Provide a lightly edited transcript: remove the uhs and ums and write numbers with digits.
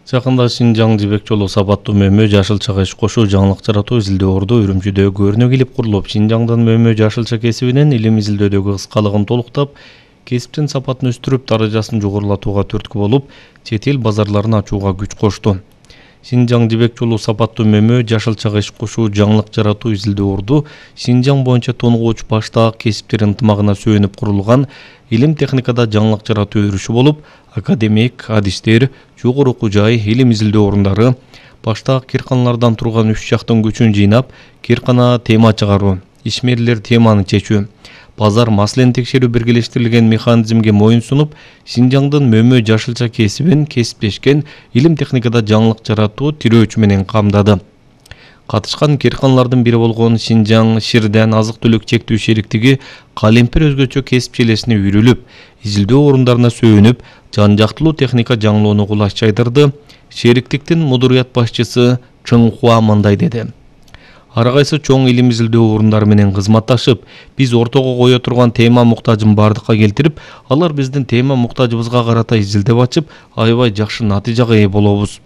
Жакында Шинжаң Жибек жолу сапаттуу мөмө жашылчага иш кошуу жаңылык жаратуу изилдөө орду Үрүмчүдө көрүнө келип курулуп, Шинжаңдын мөмө жашылча кесибинин илим изилдөөдөгү кыскалыгын толуктап, кесиптин сапатын өстүрүп, даражасын жогорулатууга түрткү болуп, чет эл базарларын ачууга күч кошту. Шинжаң Жибек жолу сапаттуу мөмө жашылчага иш кошуу жаңылык жаратуу изилдөө орду Шинжаң боюнча тонугуучу баштаак кесиптер ынтымагына сүйөнүп курулган илим техникада жаңылык жаратуу өрүшү болуп, академик, адистер, жогору окуу жай, илим изилдөө орундары баштаак кирканалардан турган 3 жактын күчүн жыйнап, киркана тема чыгаруу, ишмерлер теманы чечүү, базар маселени текшерүү биргелештирилген механизмге моюн сунуп, Шинжаңдын мөмө жашылча кесибин кесиптешкен илим техникада жаңылык жаратуу тирөөчү менен камдады. Катышкан кирканалардын бири болгон Шинжаң Ширден азык-түлүк чектүү шериктиги калемпир өзгөчө кесип желесине үйрүлүп, изилдөө орундарына сөөнүп, жан-жактылуу техника жаңылоону кулаш чайдырды. Шериктиктин мудурият башчысы Чың Хуа мындай деди: Ар кайсы чоң илим изилдөө орундары менен кызматташып, биз ортого кое турган тема муктажын бардыкка келтирип, алар биздин тема муктажыбызга карата изилдеп ачып, аябай жакшы натыйжага ээ болобуз.